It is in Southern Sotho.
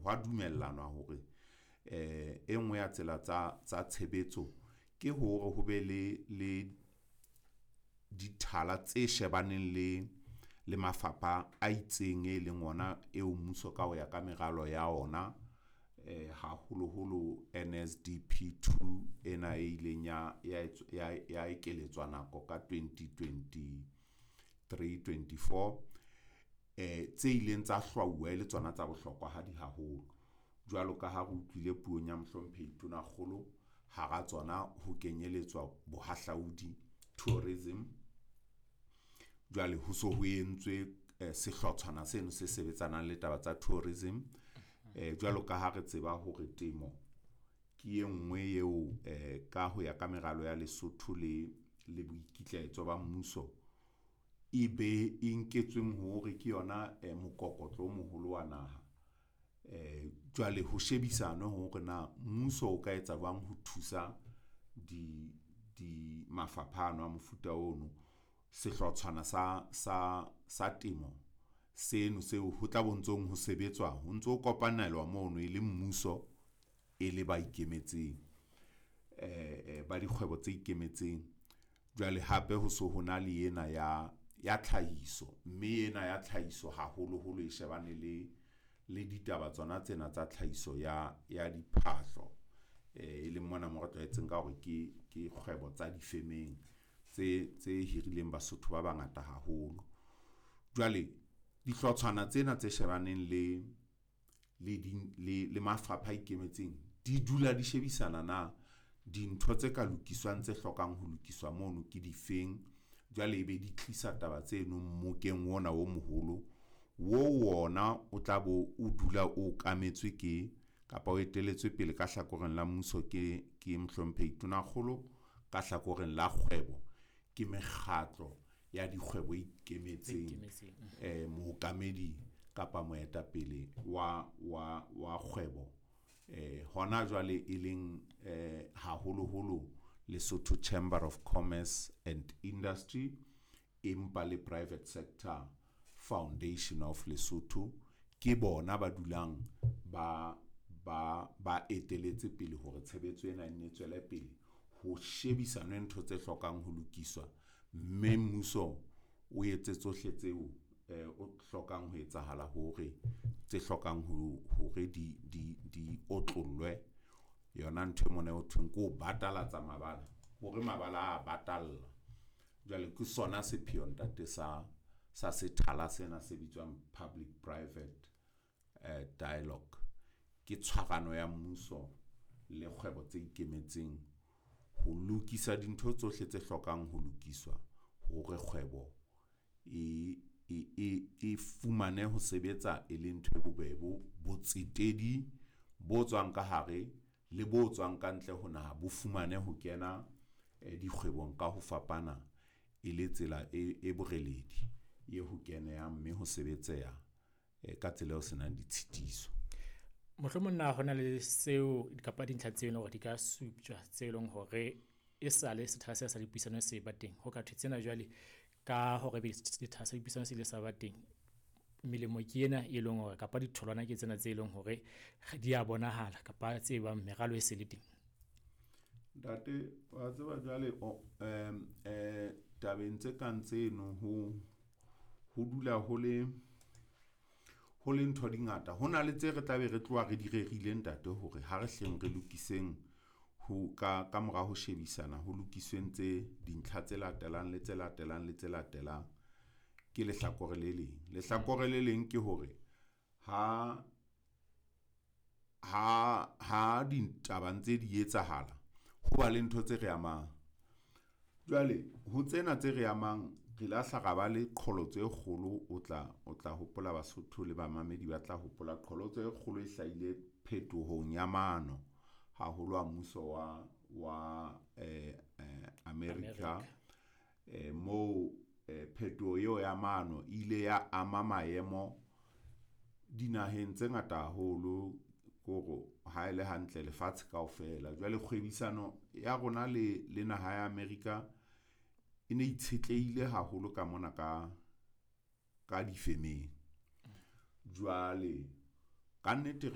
Hwa dumellanwa hore e nngwe ya tsela tsa tshebetso ke hore ho be le dithala tse shebaneng le mafapha a itseng, e leng ona eo mmuso ka ho ya ka meralo ya ona haholoholo NSDP 2 ena e ileng ya ekeletswa nako ka 2023, 24 tse ileng tsa hlwauwa e le tsona tsa bohlokwahadi haholo. Jwalo ka ha re utlwile puong ya Mohlomphehi Tonakgolo hara tsona ho kenyelletswa bohahlaudi, tourism. Jwale ho so ho entswe sehlotshwana seno se sebetsanang le taba tsa tourism. Jwalo ka ha re tseba hore temo ke e nngwe eo ka ho ya ka meralo ya Lesotho le boikitlaetso ba mmuso e be e nketsweng hore ke yona mokokotlo o moholo wa naha. Jwale ho shebisanwe hore na mmuso o ka etsa jwang ho thusa di mafapha ano a mofuta ono. Sehlotshwana sa temo seno seo ho tla bo ntsong ho sebetswa, ho ntso kopanelwa mono e le mmuso e le ba ikemetseng, ba dikgwebo tse ikemetseng. Jwale hape ho so ho na le ena ya tlhahiso, mme ena ya tlhahiso haholoholo e shebane le ditaba tsona tsena tsa tlhahiso ya diphahlo, e leng mona mo re tlwaetseng ka hore ke kgwebo tsa difemeng tse hirileng Basotho ba bangata haholo. Jwale dihlotshwana tsena tse shebaneng le mafapha a ikemetseng di dula di shebisana na dintho tse ka lokiswang tse hlokang ho lokiswa mono ke difeng. Jwale ebe di tlisa taba tseno mmokeng ona o moholo wo ona o tla bo o dula o okametswe ke kapa o etelletswe pele ka hlakoreng la mmuso ke Mohlomphehi Tonakgolo, ka hlakoreng la kgwebo ke mekgatlo ya dikgwebo e ikemetseng, mookamedi kapa moetapele wa kgwebo hona jwale e leng haholoholo Lesotho Chamber of Commerce and Industry, empa le Private Sector Foundation of Lesotho ke bona ba dulang ba eteletse pele hore tshebetso ena e nne tswele pele, ho shebisanwe ntho tse hlokang ho lokiswa, mme mmuso o etse tsohle tseo o hlokang ho etsahala hore tse hlokang hore di otlollwe. Yona ntho e mona ho thweng ke ho batalatsa mabala hore mabala a batalla. Jwale ke sona sepheo ntate sa sethala sena se bitswang Public Private Dialogue. Ke tshwarano ya mmuso le kgwebo tse ikemetseng ho lokisa dintho tsohle tse hlokang ho lokiswa hore kgwebo e fumane ho sebetsa e le ntho e bobebe. Botsetedi bo tswang ka hare le bo tswang ka ntle ho naha bo fumane ho kena dikgwebong ka ho fapana e le tsela e boreledi e ho kenehang, mme ho sebetseha ka tsela eo senang ditshitiso. Mohlomong na hona le seo kapa dintlha tseo e leng hore di ka suptjwa tse leng hore e sale sethala sena sa dipuisano se ba teng, ho ka thwe tsena jwale ka hore ebe sethala sa dipuisano se ile sa ba teng, melemo ke ena e leng hore kapa ditholwana ke tsena tse leng hore di a bonahala kapa tse bang meralo e se le teng? Ntate, wa tseba jwale tabeng tse kang tseno ho dula ho le ntho di ngata. Ho na le tse re tlabe re tloha re di rerile ntate hore ha re hleng re lokiseng ho ka mora ho shebisana ho lokisweng tse dintlha tse latelang le tse latelang le tse latelang. Ke lehlakore le leng. Lehlakore le leng ke hore ha ditaba ntse di etsahala, ho ba le ntho tse re amang. Jwale ho tsena tse re amang, re la hla ra ba le qholotso e kgolo. O tla hopola Basotho le bamamedi ba tla hopola qholotso e kgolo e hlahile phetohong ya mano haholo a mmuso wa America, moo phetoho eo ya mano e ile ya ama maemo dinaheng tse ngata haholo, kore ha e le hantle lefatshe kaofela. Jwale kgwebisano ya rona le naha ya America e ne itshetlehile haholo ka mona ka difemeng. Jwale kannete